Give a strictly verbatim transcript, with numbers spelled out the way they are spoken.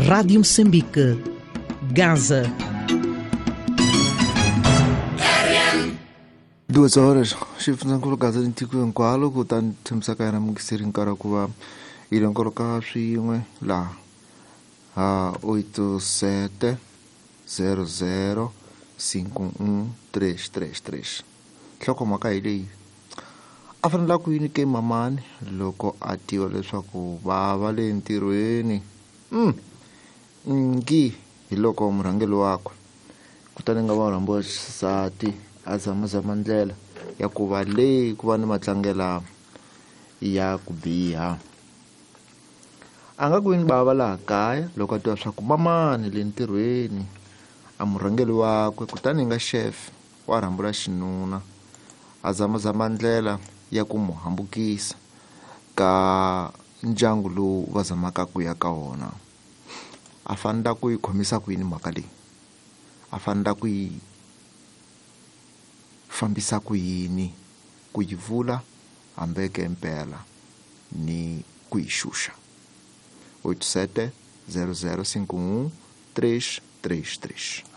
Rádio Moçambique, Gaza. Duas horas, xifundzankulu Gaza tiko hinkwalo kutani tshamisaka yena mukiseri nkarhi ku va yi lonkoloka swin'we laha ha oito sete zero zero cinco um três três três. Nhlokomhaka hi leyi a fanele ku yini ke mamani loko a tiva leswaku va va le ntirhweni mm. ngi hi loko murhangeri wakwe kutani nga va rhambiwa xisati a zamazama ndlela ya ku va leyi ku va ni matlangela ya ku biha a nga ku yini bava laha kaya loko a tiva swa ku mamani le ntirhweni a murhangeri wakwe kutani nga chef wa rhambula xinuna a zamazama ndlela ya ku mu hambukisa ka ndyangu lowu va zamaka ku ya ka wona a fanele ku yi khomisa ku yini mhaka leyi a fanele ku yi fambisa ku yini ku yi vula hambeke impela ni ku yi xuxa oito sete zero zero cinco um três três três.